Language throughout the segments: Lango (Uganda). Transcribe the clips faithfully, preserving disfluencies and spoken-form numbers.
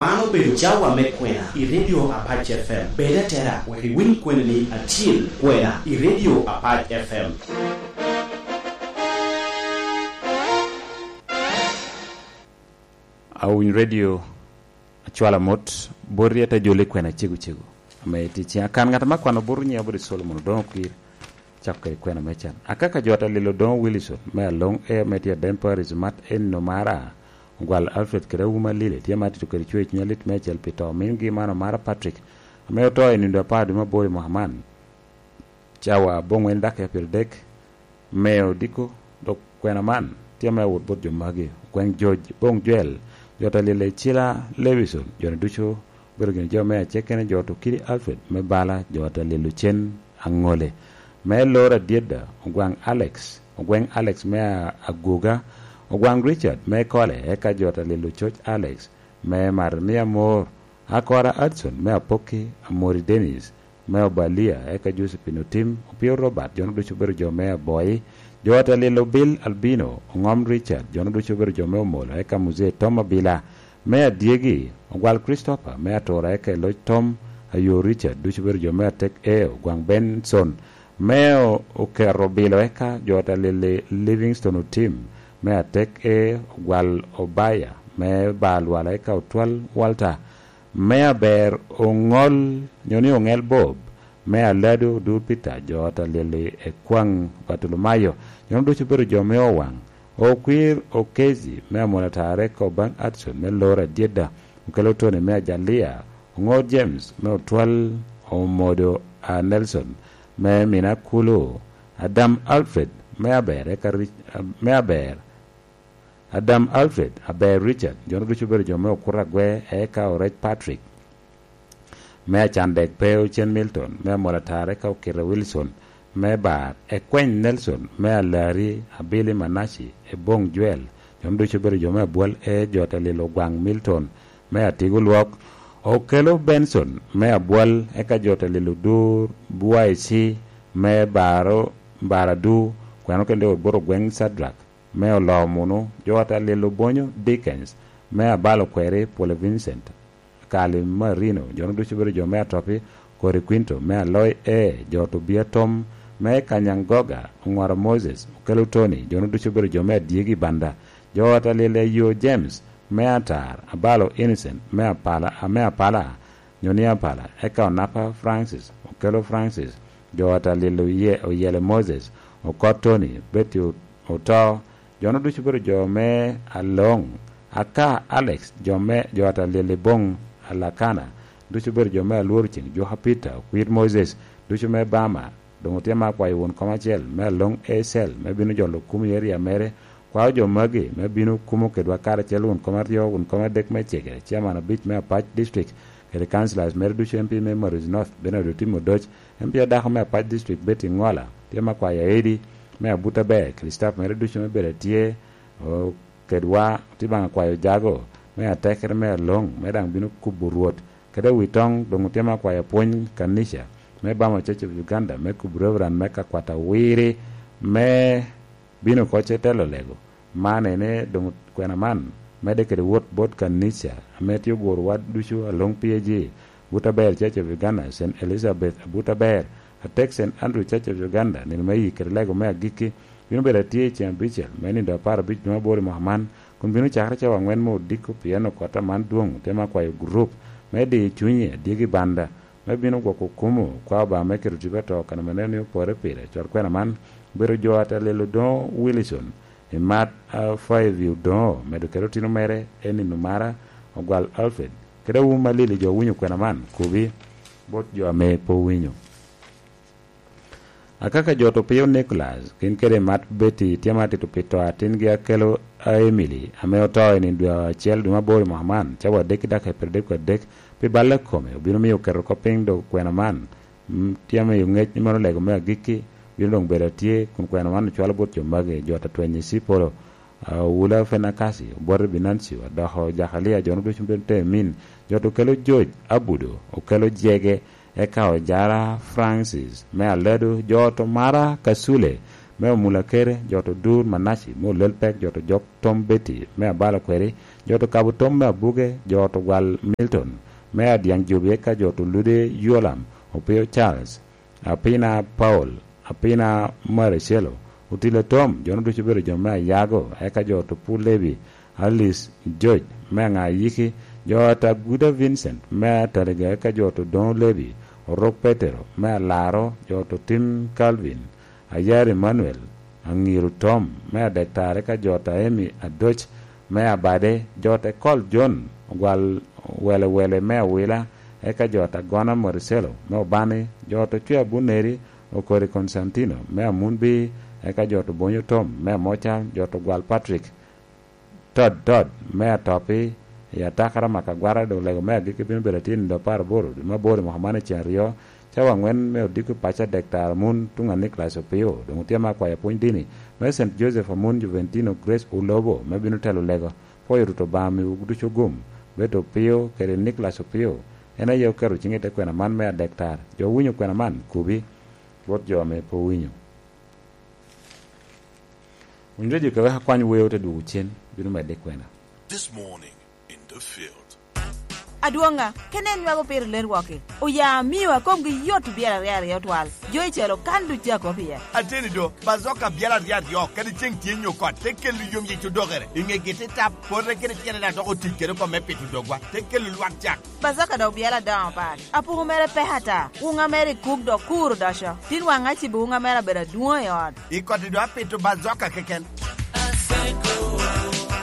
Man obedo cawa me kwena i Radio Apac F M. Bed atera wek iwiny kweni ni acil kwena i Radio Apac F M. Awiny radio, acwalo amot boti, ate jolo i kwena cego cego. Ame tye ciŋ akan ŋat ame akwano bot nyiŋ abot i Solomon Odoŋo Kwir, cako kede kwena me can. Akaka jo ata lilo Odoŋo Wilson me Aloŋ, e ame tye Aden Paris, mat en omara, ogwal Alfred kede Auma Lili, tye ma atito kede cwer cuny alit meicel pi to omingi man omara Patrick, ame oto i nindo apar dwe me aboro i mwaka man. Cawa aboŋwen dakika pyeradek me odiko, dok kwena man tye ame awot bot jo magi: Ogweŋ George, Boŋ Joel, jo ata lilo Icila Lewison, jo-ni ducu obedo gin jo me acekene, jo Tukiri Alfred me Bala, jo ata lilo Cen Aŋole me Lora Dyedda, Ogwaŋ Alex, Ogweŋ Alex me A-, Agoga, Ogwaŋ Richard me Kole, eka jo ata lilo Coc Alex me Marmia Mor, Akora Adson me Apokki, Amori Dennis me Obalia, eka Josephine Otim, Opio Robert, jo-nu ducu obedo jo me Aboi, jo ata lilo Bill Albino, Oŋom Richard, jo-nu ducu obedo jo me Omolo, eka Muzee Tom Abila me Adyegi, Ogwal Christopher me Atura, eka Eloc Tom, Ayo Richard, ducu obedo jo me Atek Eo, Ogwaŋ Benson me O-, Oketo Bilo, eka jo ata lili Livingstone Otim me Atek E, Ogwal Obaya me Bar Lwala, eka Otwal Walter me Aber Oŋol, nyo ni Oŋel Bob, me Alado Odur Peter, jo ata lili Ekwaŋ Bartolomayo, jo-nu ducu obedo jo me Owaŋ, Okwir Okezi me Amon Atare, eka Obaŋ Adson me Lora Dyedda, Okelo Tony me Ajalia, Oŋor James me Otwal, Omodo a Nelson me Mina Kulu, Adam Alfred me Aber, eka Rich-, me Aber, Adam Alfred, Aber Richard, jo-nu ducu obedo jo me Okuto Agwe, eka Orec Patrick me Acandek, pe Ocen Milton me Amol Atare, eka Okita Wilson me Bar, Ekweny Nelson me Alari, Abili Manaci, Eboŋ Joel, jo-nu ducu obedo jo me Abwal, e jo ata lilo Ogwaŋ Milton me Atigo Lwok, Okelo Benson me Abwal, eka jo ata lilo Dur Bwaici me Baro, Baradu, kweno kende wot bot Ogweŋ Sadrak me Oloo Munu, jo ata lilo Bonyo Dickens me Abalo Kweri, Pwole Vincent, Kali Marino, jo-nu ducu obedo jo me Atopi, Kori Quinto me Aloi E, jo Tobia Tom me Kanyangoga, Oŋwaro Moses, Okelo Tony, jo-nu ducu obedo jo me Adyegi Banda, jo ata lilo Ayo James me Atar, Abalo Innocent me Apala, me Apala, nyo ni Apala, eka Onapa Francis, Okelo Francis, jo ata lilo Oye-, Oyele Moses, Okot Tony, Betty O-, Oto, jo-nu ducu obedo jo me Aloŋ, aka Alex, jo me, jo ata lili Boŋ Alakana, ducu obedo jo me Alwor Ceŋ, Juka Peter, Okwir Moses, ducu me Bama, doŋ otye ma akwayo won kom acel me Aloŋ Ecel, me bino jolo kum i eria mere, kwao jo magi, me bino kumo kedwa karacel won kom aryo, won kom adek me Cege, chairman abic me Apac District, kede councillors mere ducu, M P me Maris North, Bernard Otim Odoc, M P adako me Apac District, Betty Ŋola, tye ma akwayo Aedi, me Abuta Ber, kede staff mere ducu me bedo atye, o, kedwa, tye baŋ akwayo Jago, me atekere me Aloŋ, me daŋ bino kubo Rwot, kede Witoŋ, doŋ otye ma akwayo apwony kanica, me Bama Church of Uganda, me kubo Reverend me Kakwata Wiri, me bino oko ce telo lego. Man ene doŋ kwena man, medde kede wot bot kanica, ame tye oguro wa ducu Aloŋ P A G, Buta Ber Church of Uganda, Saint Elizabeth Abuta Ber, Atek Saint Andrew Church of Uganda, nino me yik kede lego me agikki, bino bedo atye i ceŋ abicel me nindo apar abic dwe me aboro i mwaka man, kun bino cakere cawa aŋwen me odiko, pien okot aman dwoŋ tye me akwayo gurup me diyo cunye adyegi banda, me bino gwoko kumo kwa Obaŋa me keto tipo ato kan ame neno ni opore pire. Cot kwena man obedo jo ata lelo Odoŋo Wilson, i mat a Fayevi Odoŋo, medo kede otino mere, en nino mara, Ogwal Alfred, kede awu malili jo owinyo kwena man, kobi bot jo ame pe owinyo. Akaka jo Topio Nicholas, gin kede mat Betty, tye ma tito pi to atingi Akelo a Emily, ame oto i nino dwe acel dwe me aboro i mwaka man, cawa adek ki dakika pyeradek adek, pi balle kome, obino miyo oketo oko piny dok kwena man, mm, tye miyo ŋec ni mano lego me agikki, bino doŋ bedo atye, kun kwena man ocwalo bot jo magi, jo ata twenyo i Cipolo, Awula Fenakasi, Obote Binancio, Adoko Jakalia, jo-nu ducu bedo te min, jo Tokelo George Abudo, Okelo Jege, eka Ojara Francis me Aledo, jo Tomara Kasule me Omulakere, jo to Dur Manaci, me Olelpek, jo to Jok Tom Betty, me Abalo Kweri, jo to Kabo Tom me Abuge, jo to Gwal Milton, me Adyaŋ Jobi, eka jo to Lude Yolam, Opio Charles, Apina Paul, Apina Maricelo, Otile Tom, jo-nu ducu obedo jo me Ayago, eka jo to Pul Levi, Alice George, me Aŋa Ayiki, jo to Aguda Vincent, me Ataliga, eka jo to Doŋo Levi, Orok Petero, me Alaro, jo to Tim Calvin, Ayar Emmanuel, Aŋiru Tom, me Adektar, eka jo to Emi Adoc, me Abade, jo to Ekol John, Ogwal Welewele, me Awila, eka jo to Agona Maricelo, me Obani, jo to Cwe Abuneri, Okori Konstantino, me Amunbi, eka jo to Bonyo Tom, me Amoca, jo to Gwal Patrick, Tod Tod, me Atopi, i atakara maka agwara, dok lego me agikki bino bedo atin i dwe apar aboro, dwe me aboro i mwaka man i ceng aryo, cawa aŋwen me odiko i paco Adektar Amun, tuŋ a Nicholas Opio, doŋ otye me akwayo pwony dini, me Saint Joseph Amun, Juventino Grace Ulobo, me bino telo lego. Pwoyo Rwot Obaŋa miwu ducu gum, Betty Opio kede Nicholas Opio, en aye oketo ciŋe i te kwena man me Adektar. Jo owinyo kwena man, kubi, Rwot jo ame pe owinyo. Winy redio ka wek akwany weo te dwogo cen, bino medde i kwena. This morning in the field. Adwoŋa, kene en nwago pire ler wok-ki. Oya amio a komgi yot obyelo aryo aryo twal. Jo i calo kan duc a kop iye. Ateni do, bazoka abyelo aryo aryo, kadi ceŋ tye nyo kot, te kelo yom yic odokere. I ŋegi te tap, pote kede tyene daŋ dok otic kede oko me pito dogwa, te kelo lwak cak. Bazoka dok obyelo adoŋo pat. Apuku mere pek ata. Wuŋa mere i kuk dok kur odoco. Tin waŋ acibo wuŋa mere abedo adwoŋ i ot. I koti do apito bazoka keken.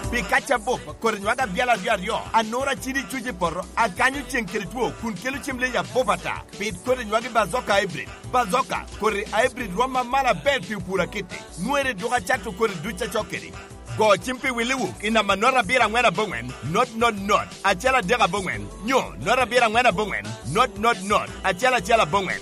Pi kaca bup, kodi nywag abyala aryo aryo, anura cidi cuc i poto, akanyo ceŋ kede two, kun kelo cem leyi abup ata. Pit kodi nywagi bazoka hybrid. Bazoka, kodi hybrid rwom amalo aber pi opur akitti. Nwere duk acato kodi duc acok kedi. Go cim pi Willy Wook i namba not abiro aŋwen aboŋwen, not not not, acel adek aboŋwen, nyo not abiro aŋwen aboŋwen, not not not, acel acel aboŋwen.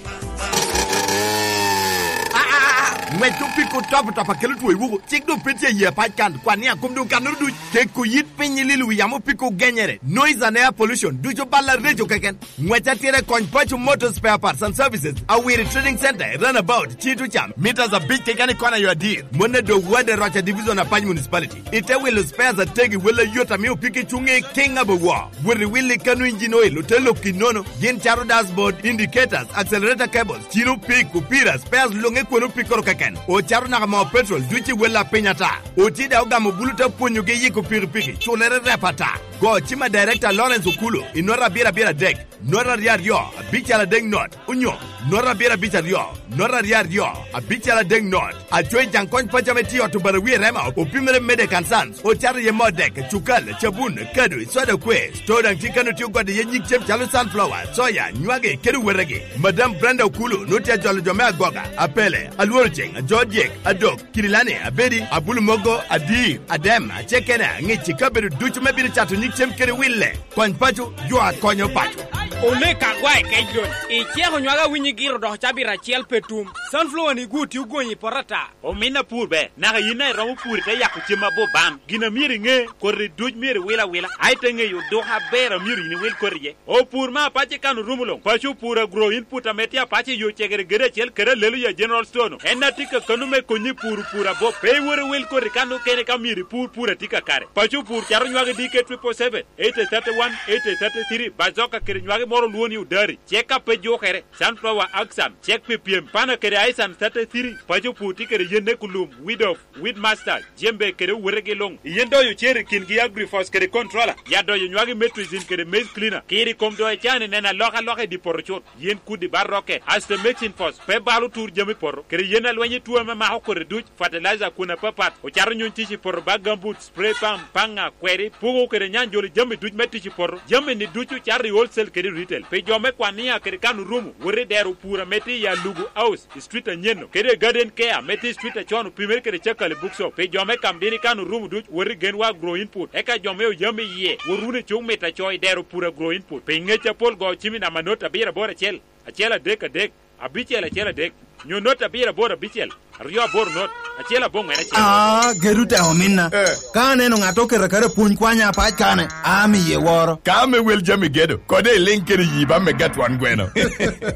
Ah, ah, ah, ah. Ŋwec opiko top top akelo two i wuku. Cik doŋ pe tye i yie pac kan. Kwan ni akom doŋ kannoro duc. Keko yit piny i lilo wi yamo opiko genyere. Noise and air pollution. Ducu balla reco keken. Ŋwec atira i kony Paco Motor Spare Parts and Services. Awiri Trading Center, Runabout, Cito Cam. Meters abic keken i kona yo adir. Mon a doŋ wade Roca Division, Apac Municipality. Ite wilo spares ategi, wel ayot ame opiki cuŋ i King Abawa. Wot i wil i kano engine oil, ote lok i nono. Gin cato dashboard, indicators, accelerator cables, cino pik, opira, spares luŋe kwon opikoro keken. Ocato naka moo petrol, duc i wel a piny ata. Oti daŋ ogamo bulu te pwonyogi yiko pikipiki, culere rep ata. Go cim a Director Lawrence Okulu i nota abiro abiro adek. Not aryo aryo, abical adek not, onyo not abiro abic aryo, not aryo aryo, abical adek not. Aco i Jaŋ Kony Paco ame tye i ot Obarawi i Rema, opimere Medek and Sons, ocato iye moo dek, cukal, cabun, kado, soda kwe. Store daŋ tye kano tye ogode iye nyig cem calo sunflower, soya, nywagi, kede wetegi. Madam Brenda Okulu nwoŋo tye ajolo jo me Agoga, Apele, Alworo Ceŋ, Ajo Dyek, Adok, Kirilani, Abedi, Abulu Mogo, Adir, Adem, Acekena, Ŋici, kabedo ducu me bino cato nyig cem kede wille. Kony paco, yo a konyo paco. Olek agwa i kec lony. Iceko nywag awinyo igiro dok cabit acel pe tum. Sunflower ni gwo tye ogonyo i poto ata. Omin apur ber, naka yin a iromo pur ite yako cem abup bam. Gin a myero iŋe, koti duc myero iwil awila. A ite ŋeyo odoko aber a myero yin iwil koti iye. Opur me apace kan orumo luŋ. Paco opur agro input ame tye apace yo cegere gede acel kede alelo ya General Store no. En a tye ka kano me konyi pur pur abup. Pe iwor iwil koti kan okene ka myero ipur pur a tye kakare. Paco opur cato nywagi D K triple seven, eighty thirty one, eighty thirty three, bazoka kede nywagi moro olwongo ni odari, cek a pe jukere, sunflower axan, cek pi pyem, pana kede aisan thirty three, paco pur tye kede yenne kulum, weed off, weed master, jembe kede owetegi luŋ. Yen doyo cer i kingi agrifos kede controller, ya doyo nywagi metrizin kede maize cleaner, kiri kom doyo cani neno alokaloka i di poto cut. Yen kudi ba roke, asto mixing force, pe balo tur jami poto, kede yen alweny i tuo ame mako kodi duc, fertilizer kun apapat, ocato nyuny tic i poto ba gambut, spray pump, paŋa, kweri, pugo kede nyanjolo jami duc me tic i poto. Jami ni ducu cato i wholesale kede retail. Pi jo me kwan nia kede kan orumo, wot i dero pur ame tye i Alugu House, i street anyen-nu, kede Garden Care ame tye i street acon opimere kede Cakali Bookshop. Pi jo me kam dini kan orumo duc, wot i Genwa Agro Input. Eka jo me oyam i yie, wot wunu i cuk mit aco i dero pur Agro Input. Pi ngec apol go cim i namba not abiro aboro acel, acel adek adek, abicel acel adek. Nyo not abiro aboro abicel, aryo aboro not, acel aboŋwen acel. Ah, gedo te ominna. Eh. Ka aneno ŋat oketo aketa pwony kwanya apac kane, amiye woro. Ka ame wel jami gedo, kode iliŋ kede yi ba me gatwan gweno.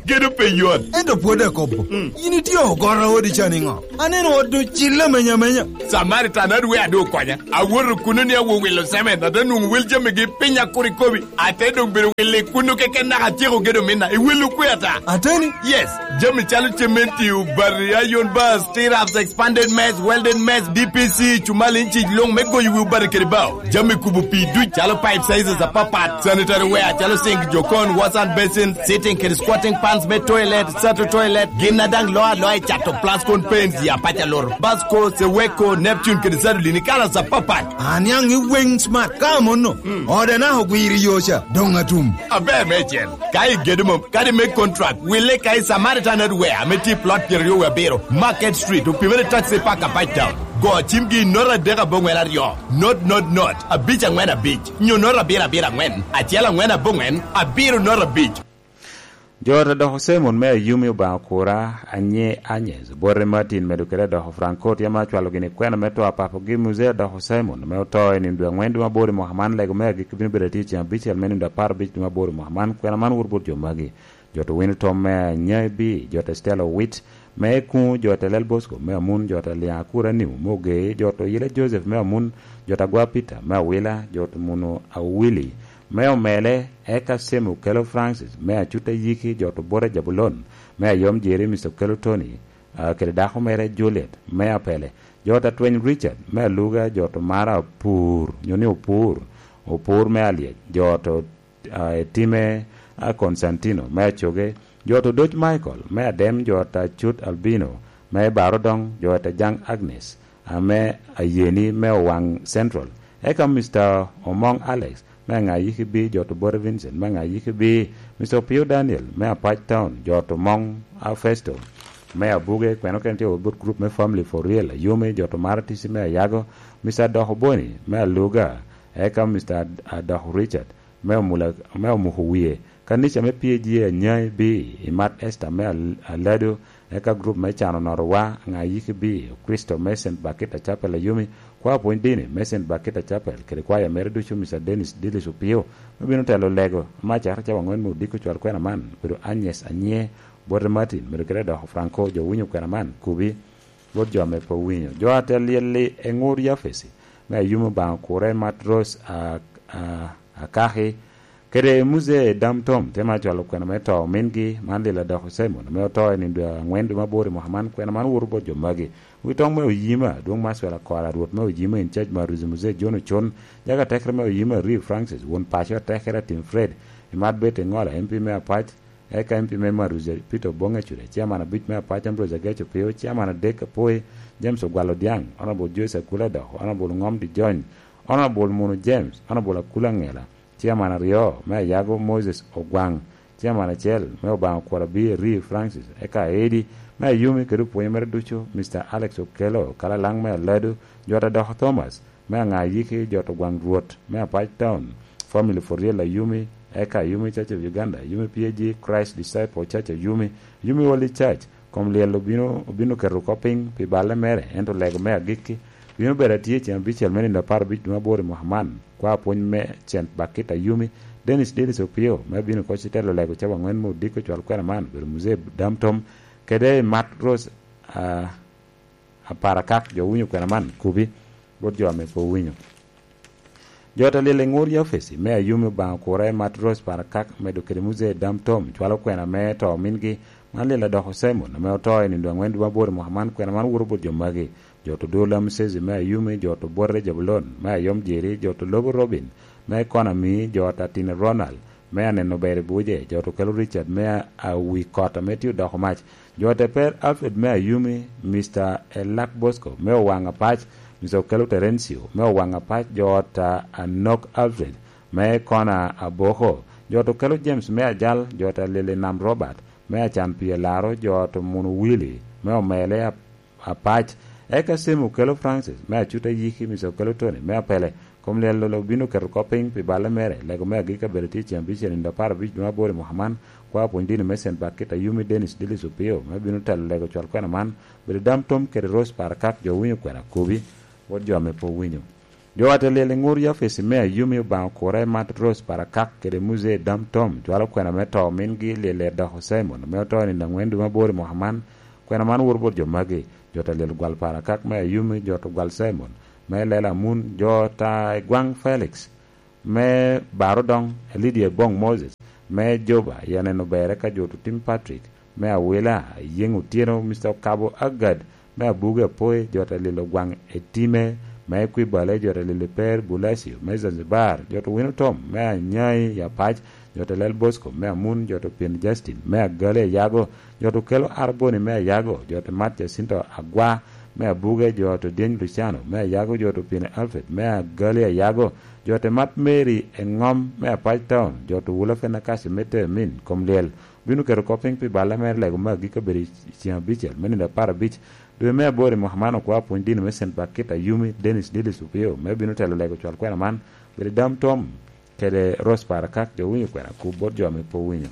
Gedo pe yot. Ento pwod akobo. Mm. In itye ogoro odi ca niŋo? Aneno ot doŋ cille amenya amenya. Samaritan adu we adu okwanya. Awoto kuno ni awo wilo semen, ate nwoŋo wel jamigi piny akur ikobi. Ate doŋ bedo wille kuno keken naka atyeko gedo minna. Iwillo kwe ata? Ateni? Yes. Jami calo cementi, obati, iron bars, T-raps, expanded mess, welded mess, D P C, cumal inci luŋ me goyo wi obati kede bao. Jami kubo pii duc calo pipe sizes apapat, sanitary ware calo sink, jokon, wash and basin, sitting kede squatting pans me toilet, sato toilet, gin a daŋ loo aloa i cato Plascon paints, ya paca loro, Basco, Seweko, Neptune kede Sadolini kalas apapat. Aniaŋ i weŋ smart ka amono. Mm. Ode naka ogwiro i yo ca, doŋ atum. Aber meicel. Ka igedo mom, kadi me contract, wille ka i Samaritan Hardware ame tye i plot pyeraryo wie abiro, Market Street, opimere taxi park a Page Town. Go cimgi i note adek aboŋwen aryo, note, note, note, abic aŋwen abic, nyo note abiro abiro aŋwen, acel aŋwen aboŋwen, abiro note abic. Jo te doko Simon me Ayumi Obaŋa Okura, Anye Anyes, Obote Martin, medo kede adoko Franco, tye ma cwalo gini kwena me to a papogi Muzee adoko Simon, ame oto i nino dwe aŋwen dwe mabor i mwaka man, lego me agikki bino bedo atye i ceng abicel me nino dwe apar abic dwe mabor i mwaka man, kwena man wot bot jo magi. Jo to wino tom me Anyai B, jo to Stella Owit, me Kuŋo, jo to Lel Bosco, me Amun, jo to Liaŋ Akura Niu, me Ogee, jo to Yila Joseph, me Amun, jo to Agwa Peter, me Awila, jo to Muno Awili, me Omele, eka Semi Okelo Francis, me Acut Ayiki, jo to Bota Jabulon, me Ayom Jeri, Mister Okelo Tony, ah, kede dako mere Juliet, me Apele, jo to Atweny Richard, me Aluga, jo to Mara Opur, nyo ni Opur, Opur me Alyec, jo to ah, Etime, ah, Konstantino, me Acoge, jo to Doc Michael, me Adem, jo to Acut Albino, me Barodong, jo to Jaŋ Agnes, ame Ayeni, me Owaŋ Central, eka Mister Omoŋ Alex, me Aŋayiki B, jo to Bote Vincent, me Aŋayiki B, Mister Opio Daniel, me Apac Town, jo to Moŋ, ah, Festo, me Abuge, kweno kene tye wot bot group me Family for Real, Ayome, jo to Maratisi, me Ayago, Mister Adoko Boni, me Aluga, eka Mister Ad-, Adoko Richard, me omula, me omuko wie. Kanica me P A G Anyai B, i Mat Esther me Al-, Alado, eka group me Cano Notowa, Aŋayiki B, Okristo me Saint Bakita Chapel Ayumi, kwaya pwony dini me Saint Bakita Chapel, kede kwaya mere ducu, Mister Dennis Dillis Opio, me bino telo lego, me acakere cawa aŋwen me odiko cwal kwena man, obedo Agnes Anye, Bote Martin, medo kede doko Franco, jo winyo kwena man, kubi, bot jo ame pe owinyo. Jo a te lyel-li e ŋur Yafesi, me Ayumi Obaŋa Okure, Mat Rose, a, a, Akaki, kede Muzee Dam Tom, te ma cwalo kwena me to omingi, man lila dok Simon, ame oto i nino dwe aŋwen dwe mabor i mwaka man, kwena man woto bot jo magi. Wi toŋ me Oyima, Adwoŋ Maxwell Akora, Rwot me Oyima in charge Maruzi Muzee John Ocon, jaga tekere me Oyima Ri Francis, won paco atekere Tim Fred, Imat Bet Eŋola, M P me Apac, eka M P me Maruzi Peter Oboŋ Ecure, Chairman abic me Apac Ambrose Ageco Pio, Chairman adek Apoi, James Ogwal Odiaŋ, Honorable Joyce Akula Dok, Honorable Ŋom Dijony, Honorable Munu James, Honorable Akula Ŋela, Chairman aryo me Ayago Moses Ogwaŋ, Chairman acel me Obaŋa Kwaro Abir Ri Francis, eka Edi me Ayumi kede opwonyo mere ducu, Mister Alex Okello, Kalalaŋ me Aladu, Jwata Doko Thomas, me Aŋayiki, Jwata Ogwaŋ Rwot me Apac Town, Family for Real Ayumi, eka Ayumi Church of Uganda, Ayumi P A G, Christ Disciple Church Ayumi, Ayumi Holy Church, kom lyel obino, obino keto oko piny pi balle mere, ento lego me agikki bino bedo atye i ceng abicel me nino apar abic dwe mabor i mwaka man. Kwa pwony me Cent Bakita Yumi, Dennis Dennis Opio, me abino koc i telo lego cawa aŋwen me odiko cwal kwena man, obedo Muzee Dam Tom, kede Mat Rose, ah, Aparakak, jo winyo kwena man, kubi, bot jo ame pe owinyo. Jo te lil i ŋur Yafesi me Ayumi Obaŋa Okura i Mat Rose Parakak medo kede Muzee Dam Tom cwalo kwena me to omingi, man lila dok Simon ame oto i nino aŋwen dwe aboro i mwaka man. Kwena man woto bot jo magi: jo to Dula Musezi me Ayumi, jo to Bote Jabulon me Ayom Jeri, jo to Lobo Robin me Konami, jo to Atine Ronald me Aneno Ber i Buje, jo to Kelo Richard me Awi Kot ame tye odoko mac, jo te Per Alfred me Ayumi, Mister Elak Bosco me Owaŋ Apac, Mister Okelo Terencio me Owaŋ Apac, jo ot a Anok Alfred me Kona Aboko, jo ot Okelo James me Ajal, jo ot a Lili Nam Robert me Acan Pii Alaro, jo ot Munu Willy me Omele Ap-, Apac, eka Semi Okelo Francis me Acut Ayiki, Mister Okelo Tony me Apele, Kom lyel obino keto kop piny pi balle mere, lego me agikki abedo tye ceng abicel nino apar abic dwe me aboro i mwaka man. Kwa pwony dini me Saint Bakita Yumi Dennis Dillis Opio me bino telo lego cwal kwena man, bedo dam tom kede Rose Parakak jo winyo kwena kobi, wot jo ame pe owinyo. Jo ate lyel i ngur Yafesi me Ayumi Obaŋa okure mat Rose Parakak kede Muzee dam tom cwalo kwena me to mingi lyel Ledoko Simon ame oto i nino angwen dwe me aboro i mwaka man. Kwena man woto bot jo magi, jo ate lyel gwal Parakak me Ayumi, jo to gwal Simon me Lela Amun, jo ta i gwaŋ Felix me Baro Doŋ, Lydia Bong Moses me Juba, i aneno bere ka jo to tim Patrick me Awila, Yeŋ Otyeno, Mister Okabo Agad me Abuge Apoi, jo te lilo gwaŋ Etime me Equibale, jo te lilo Per Bulacio me Zanzibar, jo to wino tom me Anyai i Apac, jo te lel Bosco me Amun, jo to pien Justin me Agali Ayago, jo to kelo Arboni me Ayago, jo te mat Jacinto Agwa me Abuge, jo to dyeny Luciano me Ayago, jo to pien Alfred me Agali Ayago, jo te mat Mary Eŋom me Apac Town, jo to wula Fenakasi me Temin kom lyel. Bino keto kop piny pi balle mere lego me agikki obedo i ceŋ abicel me nino apar abic dwe me aboro i mwaka man. Okwa pwony dini me Saint Bakita Yumi Dennis Dillis Opio me bino telo lego cwal kwena man, bedo dam tom kede Rose Parakak jo winyo kwena kub bot jo ame pe owinyo.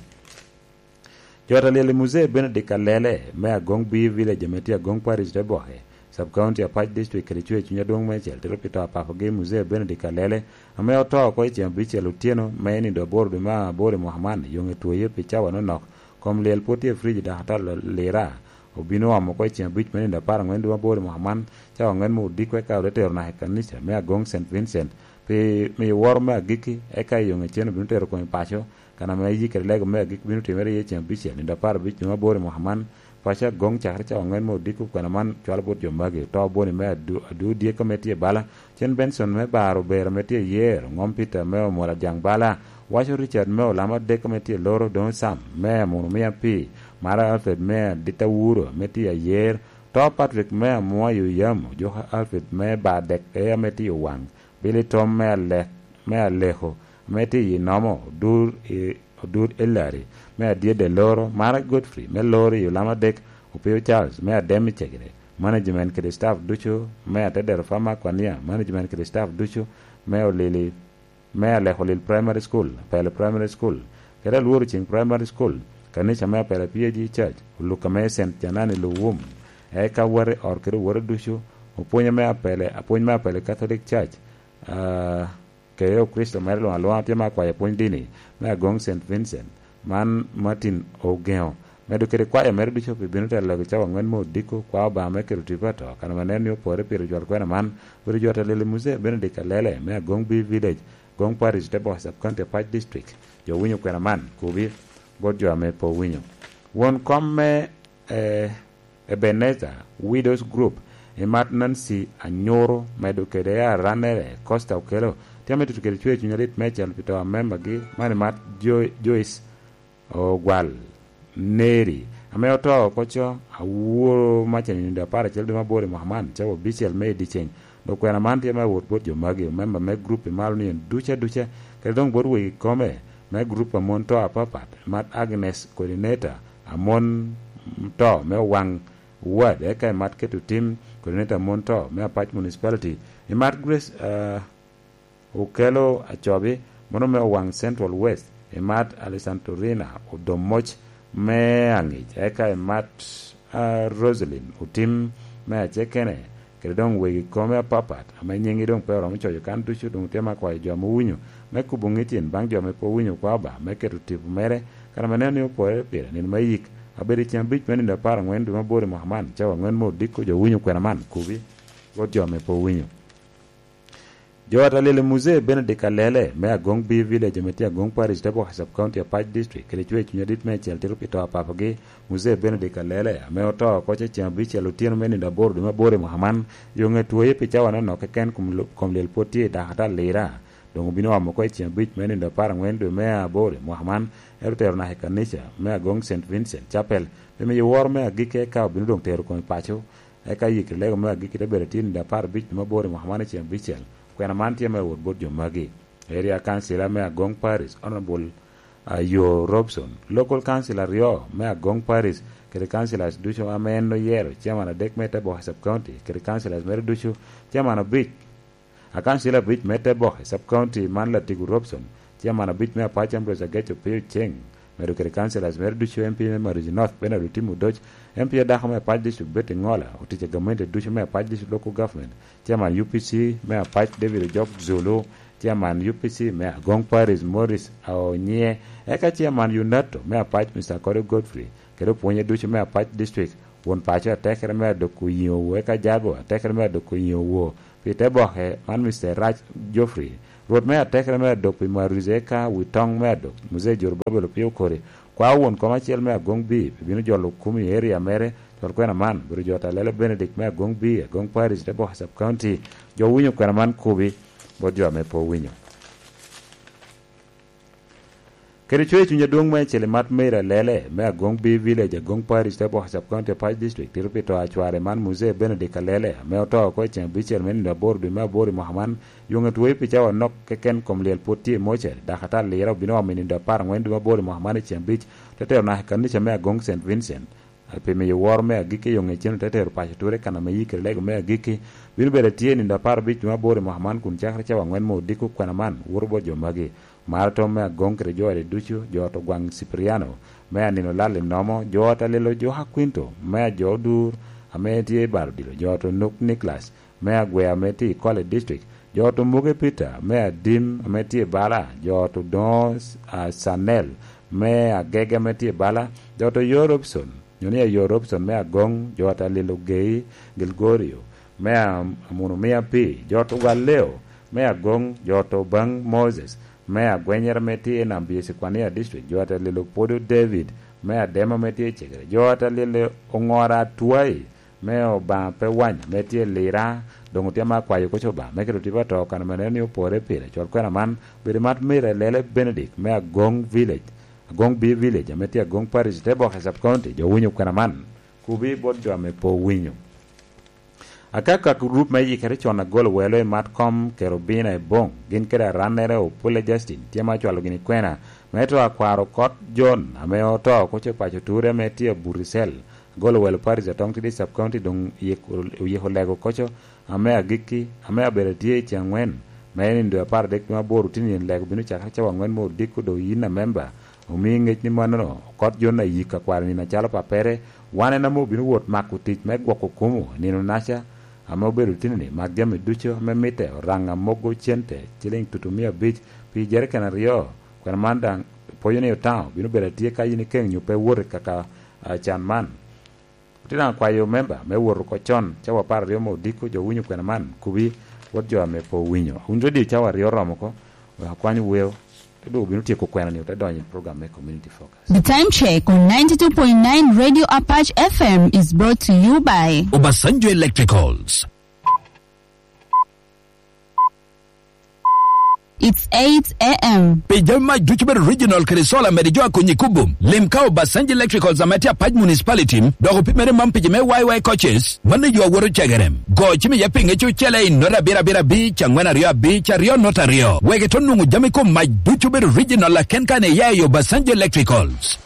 Jo ate lyel i Muzee Benedict Alele me Agong B Village ame tye Agong Parish te boke, Sub County Apac District kede cwer cuny adwoŋ me acel tito pi to apapogi Muzee Benedict Alele ame oto oko i ceŋ abicel otyeno me nino aboro dwe me aboro i mwaka man, yoŋe twoye pi cawa nonok. Kom lyel pwod tye i fridge dok atal lira. Obino omo oko i ceŋ abic me nino apar aŋwen dwe me aboro i mwaka man, cawa aŋwen me odiko eka ote tero naka i kanica me Agong Saint Vincent pi miyo woro me agikki, eka i yoŋe cen obino tero kome paco, kan ame yikkere lego me agikki bino timere iye ceŋ abicel nino apar abic dwe me aboro i mwaka man. Paco Agong cakere cawa aŋwen me odiko kwena man cwalo bot jo magi, oto boni me adu, adu dyeko me tye bala, Cen Benson me Bar Obera ame tye ayer, Ŋom Peter me Omola Dyaŋ Bala, Waco Richard me Olamo Adek ame tye loro, Doŋ Sam me Amuno Mia Pii, Mara Alfred me Adita Wuro ame tye ayer, To Patrick me Amua i Oyamo, Joka Alfred me Bar Dek e ame tye Owaŋ, Billy Tom me Alek, me Aleko ame tye i Nomo, Odur i, Odur Elari me Adyedde Loro, Mara Godfrey me Loro i Olamo Adek, Opio Charles me Adem i Cegere, management kede staff ducu me Atedero Farmer Kwania, management kede staff ducu me Olili, me Aleko Lil Primary School, Apele Primary School, kede Alworo Ceng Primary School, kanica me Apele P A G Church, Oluka me Saint Janani Luwum, eka wati ot kede owote ducu, opwonye me Apele, apwony me Apele Catholic Church, ah, kede Okricito mere luŋ aluŋa tye me akwayo apwony dini me Agong Saint Vincent, man Martin Ogeŋo, medo kede kwaya mere ducu pi bino telo lego cawa aŋwen me odiko, kwa Obaŋa me keto tipo ato, kan ame nen ni opore pire jwal kwena man, bedo jwat alili Muzee Benedict Alele me Agong B Village, Agong Parish, te boke Sub County Apac District. Jo winyo kwena man, kobi bot jo ame pe owinyo. Won kom me, eh, Ebenezer Widows Group, i mat Nancy Anyoro, medo kede arannere Costa Okello, tye ame tutu kede cwer cuny alit me cel pi to amemagi, man i mat Jo-, Joyce Ogwal Neri, ame oto oko co, aworo maca nino apar acel dwe me aboro i mwaka man, cawa abicel me i dyeceng. Dok kwena man tye me awot bot jo magi, memba me gurup i malo ni en duca duca, kede doŋ bot wegi kome me gurup a mon to apapat, mat Agnes, coordinator a mon to me Owaŋ Ward, eka i mat keto tim, coordinator a mon to me Apac Municipality, i mat Grace, ah, Okello Acobi, mano me Owaŋ Central West, i mat Alessandrina Odomoc me Aŋic, eka i mat, ah, Roselyn Otim me Acekene, kede doŋ wegi kome apapat, ame nyiŋgi doŋ pe oromo coyo kan ducu, doŋ tye me akwayo jo ame owinyo me kubo ŋecin baŋ jo ame pe owinyo kwa Obaŋa me keto tipo mere, kan ame neno ni opore pire nino me yik, abedo i ceng abic me nino apar aŋwen dwe me aboro i mwaka man, cawa aŋwen me odiko jo winyo kwena man, kobi bot jo ame pe owinyo. Jo ata lyel i Muzee Benedict Alele me Agong B Village ame tye Agong Parish, te boke Sub County Apac District, kede cwer cuny adit me acel tito pi to apapogi, Muzee Benedict Alele, ame oto oko ce ceŋ abicel otyeno me nino aboro dwe me aboro i mwaka man, yo ŋe twoye pi cawa nonok keken, kom lo-, kom lyel pwod tye i dako ata lira. Doŋ obino omo oko i ceŋ abic me nino apar aŋwen dwe me aboro i mwaka man, ento tero naka i kanica me Agong Saint Vincent Chapel, pi miyo woro me agikki, eka obino doŋ tero kome paco. Eka yikri lego me agikki te bedo tye nino apar abic dwe me aboro i mwaka man i ceŋ abicel. Kwena man tye me wot bot jo magi. Area Councilor me Agong Parish, Honorable, ah, Yo Robson, Local Council aryo me Agong Parish, kede Councilors ducu ame en oyero, Chairman adek me Teboka Sub County, kede Councilors mere ducu, Chairman abic, Akancil abic me Teboke Sub-County man Latigo Robson, Chairman abic me Apac Ambrose Ageco Pio Ceng, medo kede councillors mere ducu, M P me Maruzi North Bernard Otim Odoc, M P adako me Apac District Betty Ngola, otic a gamente ducu me Apac District Local Government, Chairman U P C me Apac David Ojok Zulu, Chairman U P C me Agong Parish Morris Aonye, eka Chairman UNATO me Apac Mister Kore Godfrey, kede opwonye ducu me Apac District, won paco atekere me Adok Oyiŋo Owo, eka Jago atekere me Adok Oyiŋo Owo, pi Teboke man Mister Rac Geoffrey, Rwot me atekere me Adok pi Maruzi, eka wi toŋ me Adok, Muzee Jorobabel Opio Okori, kwao won kom acel me Agong B, pi bino jolo kum i area mere, cwal kwena man, obedo jo Talele Benedict me Agong B, Agong Parish, Teboke Sub-County, jo owinyo kwena man kubi, bot jo ame pe owinyo. Kede cwer cuny adwoŋ me Celimat Mary Alele, me Agong B Village, Agong Parish, Teboke Sub-County, Apac District, tito pi to a cware man Muzee Benedict Alele, ame oto oko i ceŋ abicel me nino aboro dwe me aboro i mwaka man. Yoŋe twoyo pi cawa nok keken, kom lyel pwod tye i moca, dakatar Lira obino omo i nino apar aŋwen dwe me aboro i mwaka man i ceŋ abic, te tero naka i kanica me Agong Saint Vincent. Pi miyo woro me agikki, yo ŋec cen ote tero paco ture kan ame yikere lego me agikki bino bedo atye i nino apar abic dwe me aboro i mwaka man, kun cakere cawa aŋwen me odiko kwena man woto bot jo magi. Maraton me Agong kede jo ode ducu, jo ot Ogwaŋ Cipriano me Anino Lal i Nomo, jo ot Alelo Joka Quinto me Ajo Odur ame tye i Balo Odilo, jo ot Onuk Nicholas me Agwea ame tye i Kole District, jo ot Omuge Peter me Adim ame tye i Bala, jo ot Odoŋo, a, Sanel me Agege ame tye i Bala, jo ot Oyo Robson, nyo ni Ayo Robson me Agoŋ, jo ot Alil Ogei Gilgorio me Am-, Amuno Mia Pi, jo ot Ogaleo me Agoŋ, jo ot Obaŋ Moses me Agwenyere ame tye i Nam Biyesi Kwania District, jo ot Alil Opodo David me Adema ame tye i Cegere, jo ot Alil Oŋora Atwai me Obaŋa pe wany, ame tye Lira, doŋ otye ame akwayo koc Obaŋa me keto tipo ato kan ame neno ni opore pire. Cwal kwena man, bedo mat Mary Alele Benedict me Agong Village, Agong B Village, ame tye Agong Parish, Teboke Sub-County, jo winyo kwena man, kubi bot jo ame pe owinyo. Akaka gurup me yikere con agolo welo i mat kom Kerubina i Boŋ, gin kede arannere Opule Justin, tye ame acwalo gini kwena, me to akwaro kot John, ame oto koc i paco ture, ame tye Aburisel, Agolo welo Paris Atoŋ Tidi Sub-County doŋ oyiko, oyiko lego koco ame agikki, ame abedo atye i ceŋ aŋwen, me nino dwe apar adek dwe aboro, tin yen lego bino cakere cawa aŋwen me odiko, doŋ yin amemba, omi ŋec ni mannono, okot Jon ayik akwaro nino acalo pappere, wan en ame obino wot mako tic me gwoko kumo nino-naca, ame obedo tini-ni, mak jami ducu ame mitte, oraŋ amogo cente, ciliŋ tutu mia abic, pi jeriken aryo, kwena man daŋ pwoyo ni Otaŋo bino bedo atye ka yin ikeŋ nyo pe wot i kaka a, can man. Otye daŋ akwayo memba me wot oko con, cawa apar aryo me odiko, jo winyo kwena man, kubi, wot jo ame pe owinyo. Awinyo radio cawa aryo oromo oko, wek akwany weo, te doŋ obino tyeko kwena-ni, ote donyo i program me Community Focus. The time check on ninety-two point nine Radio Apache F M is brought to you by Obasanjo Electricals. It's eight a m. Pi jami mac ducu bedo original kede solar, mede jo akonyi kubo. Lim ka Obasanjo Electricals ame tye Apac Municipality, dok opimere mam pici me Y Y coaches, mano yo awoto cegerem. Go cim iye pi ŋec ocele i nota abiro abiro abic, angwen aryo abic, aryo nota aryo. Wek ito nwoŋo jami kom mac ducu bedo original aken kan iya i Obasanjo Electricals.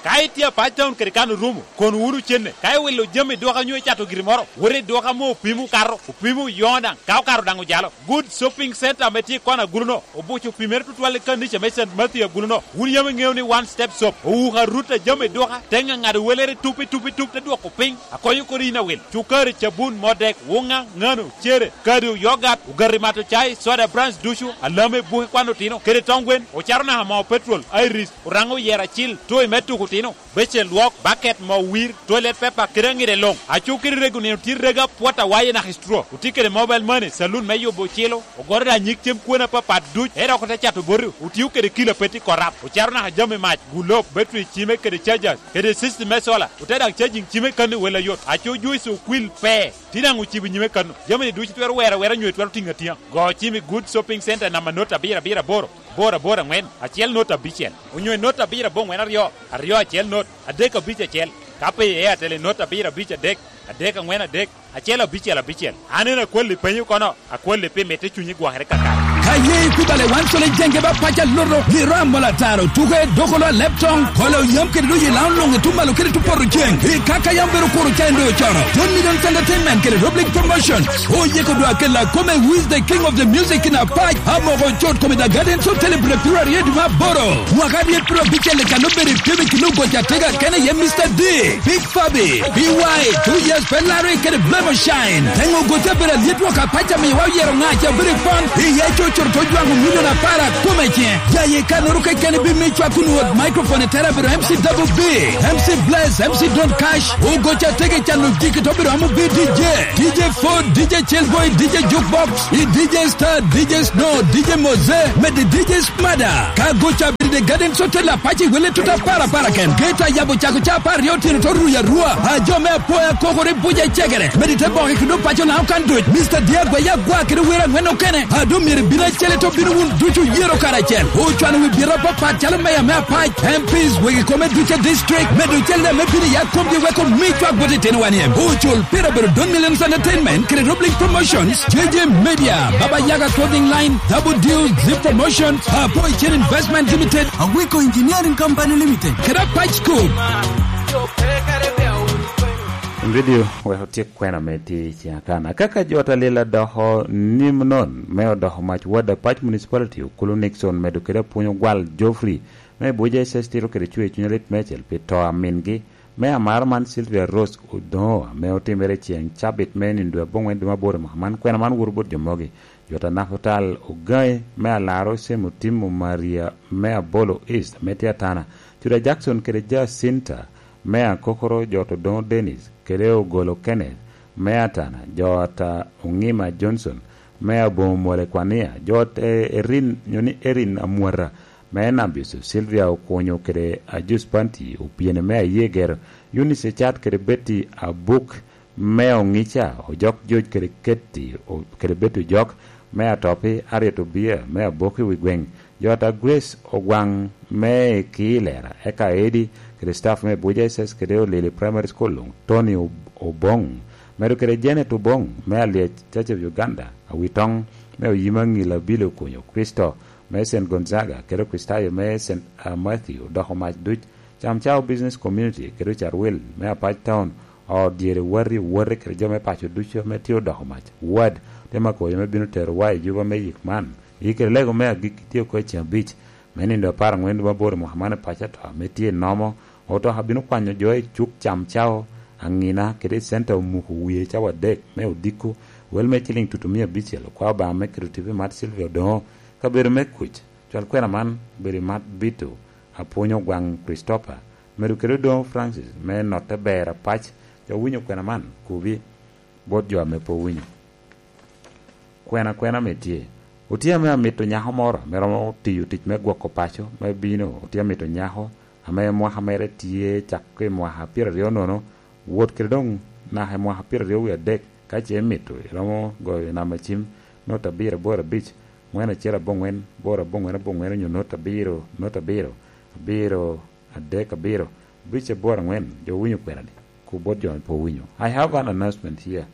Ka itye Apac Town kede kan orumo, kono wunu cenne. Ka iwilo jami i duka nyo icato giri moro, wot i duka ame opimo okato, opimo oyoŋo daŋ, ka okato daŋ ojalo. Good Shopping Center ame tye i kona agulu-no, obuco opimere tutwal i kanica me Saint Matthew agulu-no. Wun yam iŋeo ni One Step Shop owuko arut a jami i duka, te ŋaŋado welere tup i tup i tup, te dwoko piny, akonyo kodi yin awil. Cukari, cabun, modek, wuŋa, ŋano, cere, kado, yogat, ogati mato cai, soda brands ducu, alame, buke kwan otino, kede tong gwen, ocaro naka moo petrol, Iris, Oraŋo oyero acil, toy me tuko otino, becen lwok, baket, moo wir, toilet paper, kede aŋide luŋ. Aco kede rego nino tye rego apwot awaye naka i straw. Otye kede mobile money, saloon me yubo ocilo, ogoro daŋ nyig cem kwone apapat duc, ento dok ote cato boti, otio kede kilo a pe tye korap, ocaro naka jami mac, gulob, battery cime kede chargers, kede system me solar, ote daŋ charging cime kanni wel ayot. Aco juice okwil pe, tye daŋ ocibo nyime kanno. Jami-ni ducu itwero wero awera nyo itwero tiŋo atiŋa. Go cim i Good Shopping Center namba not abiro abiro aboro, bor abor aŋwen, acel not abicel, onyo i not abiro aboŋwen aryo, aryo acel not, adek abic acel. Ka pe i Airtel i not abiro abic adek, adek aŋwen adek, acel abicel abicel. An en akwalli penyo kono, akwalli pi mitte cunyi gwokere kakare. Aye i kubale wan colo i jenge ba pac aloto, giro amol ataro, tuke doko lo alep toŋ, kolo yam kede doyo i laŋo luŋ i tum malo kede tum poto ceŋ. I kaka yam bedo kuro ca en doyo cono. John Millions Entertainment kede Rob Link Promotion oyeko dwa kela kome with the king of the music in apac, amoko cot kome the Gardens Hotel i February dwe me aboro. Mwaka aryet piero abicel i kano bedo i pimo i kin ogoc atega kene ye Mister D. Big Fabi, B Y, two years pe Larry kede Blemo Shine. Teŋo goca bedo alyet wok apac amiwa oyero ŋaca bedo i pon, iye coco to jwaŋo milion apar akome ce. Jaye kanoro kekeni bi mi cwak kun wot microphone i tera bedo M C Double B, M C Bless, M C Don Cash, ogoca tege cano jiki to bedo amo bi D J, D J Ford, D J Chillboy, D J Jukebox, i D J Star, D J Snow, D J Moze, mede D J Mada, ka goca bedo i Garden Hotel apac i wele tuta para para ken. Geta yabo cako ca apar aryo otyeno to ruyo arua. A jo me apoya kokore buca i cegere. Medi te boke kede opaco na okan duc. Mister Diagwa ya gwa kede wera angwen okene. A do myero bino acel to bino wun ducu yero karacel. Ocwano wi biro apapat calo meya me apac, M Ps, wegi kome duce district. Medo cel me bino ya komgi weko mi cwak bot itino wan iem. Ocul pira bedo Don Millions Entertainment kede Rob Link Promotions, J J Media, Baba Yaga Clothing Line, Double Deal, Zip Promotion, Apo Chen Investment Limited, Awiko Engineering Company Limited, kede Apac Scoop. Video wek otyek kwena me tye i ciŋ akana. Kaka jo ta lila doko nim non me odoko mac wad Apac Municipality, Okulu Nixon medo kede apwony ogwal Geoffrey me Abuja S S tito kede cwer cuny alit meicel pi to a mingi me amaro man Sylvia Rose Odongo ame otimere i ciŋ cabit me nino dwe abongwen dwe me aboro i mwaka man. Kwena man woto bot jo mogi. Jota Naputal Ogai me Alaro Semo Timo Maria me Abolo East me tye Atana. Cuda Jackson kede Jacinta me Akokoro, Jota Odongo Dennis kede Ogolo Kenneth me Atana, Jota Ongima Johnson me Abomo Mwole Kwania, Jota Erin, nyo ni Erin Amwata me Nabis, Sylvia Okunyo kede Ajus Panti Opiene me Ayegero, Eunice Ecat kede Betty Abuk me Oŋica, Ojok Joc kede Ketti, o-, kede Betty Ojok me Atopi, Harriet Obia me Aboki wi Gweŋ, Jota Grace Ogwaŋ me Kilera, eka Edi kede staff me Abuja S S kede Olili Primary School luŋ, Tony Ob-, Oboŋ, medo kede Janet Oboŋ me Alyec, Church of Uganda, Awitoŋ me Oyima Ŋila Billy Okunyo, Kristo me Saint Gonzaga, kede Okristayo me Saint, ah, Matthew, doko mac duc, Cam Cao Business Community, kede Ocarwil me Apac Town, ot dyere wati owote kede jo me paco ducu ame tye odoko mac. Wad, te mako yo me bino tero wa i juba me yik man. Yik kede lego me agikki tye oko i ceng abic me nino apar angwen dwe me aboro i mwaka man i paco ato ame tye i nomo. Otoka bino kwanyo jo i cuk Cam Cao, Angina, kede i centa omuko wie cawa adek me odiko. Wel me ciling tutu mia abicel, okwao Obaŋa me keto tipo i mat Sylvia Odongo, kabedo me kuc. Cwal kwena man obedo i mat Bito Apwony Ogwaŋ Christopher, medo kede Odongo Francis me notte ber apac. Jo winyo kwena man, kubi bot jo ame pe owinyo. Kwena kwena ame tye. Otye ame amito nyako moro ame romo tiyo tic me gwoko paco me bino. Otye amito nyako ame mwaka mere tye cako i mwaka pyeraryo nono, wot kede doŋ naka i mwaka pyeraryo wie adek. Ka ce imito, iromo goyo namba cim, nota abiro aboro abic, ŋwen acel abongwen, aboro abongwen abongwen, onyo nota abiro, nota abiro, abiro adek abiro, abic aboro angwen. Jo winyo kwena di? Ku bot jo ame pe owinyo. I have an announcement here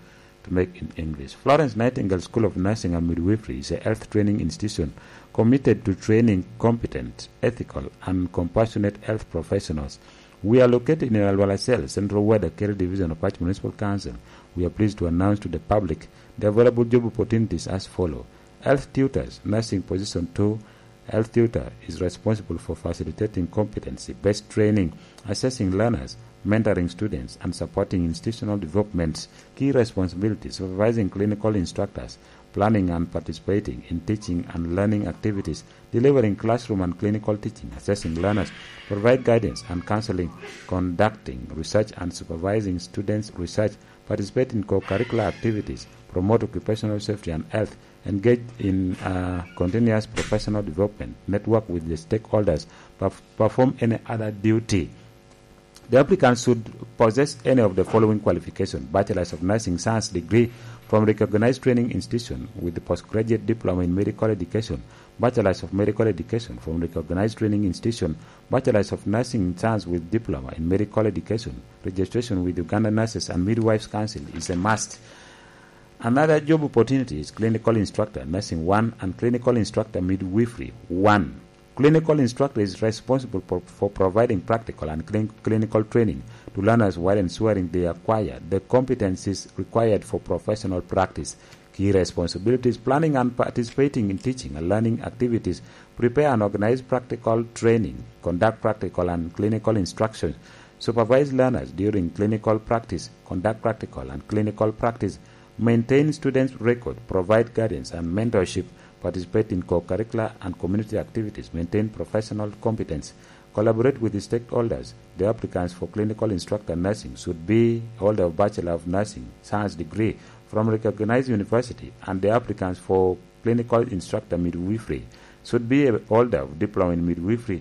to make in English. Florence Nightingale School of Nursing and Midwifery is a health training institution committed to training competent, ethical, and compassionate health professionals. We are located in Alwala Cell, Central Ward, Akeri Division of Apac Municipal Council. We are pleased to announce to the public the available job opportunities as follow. Health tutors, nursing position two. Health tutor is responsible for facilitating competency-based training, assessing learners, mentoring students, and supporting institutional development. Key responsibilities: supervising clinical instructors, planning and participating in teaching and learning activities, delivering classroom and clinical teaching, assessing learners, provide guidance and counseling, conducting research and supervising students' research, participate in co-curricular activities, promote occupational safety and health, engage in, uh, continuous professional development, network with the stakeholders, perf-, perform any other duty. The applicant should possess any of the following qualifications: Bachelor's of Nursing Science degree from recognized training institution with the postgraduate diploma in medical education, Bachelor's of Medical Education from recognized training institution, Bachelor's of Nursing Science with diploma in medical education. Registration with Uganda Nurses and Midwives Council is a must. Another job opportunity is clinical instructor nursing one and clinical instructor midwifery one. Clinical instructor is responsible for, for providing practical and clin- clinical training to learners while ensuring they acquire the competencies required for professional practice. Key responsibilities: planning and participating in teaching and learning activities, prepare and organize practical training, conduct practical and clinical instruction, supervise learners during clinical practice, conduct practical and clinical practice, maintain students' record, provide guidance and mentorship, participate in co-curricular and community activities, maintain professional competence, collaborate with the stakeholders. The applicants for clinical instructor nursing should be holder of Bachelor of Nursing Science degree from recognized university, and the applicants for clinical instructor midwifery should be a holder of diploma in midwifery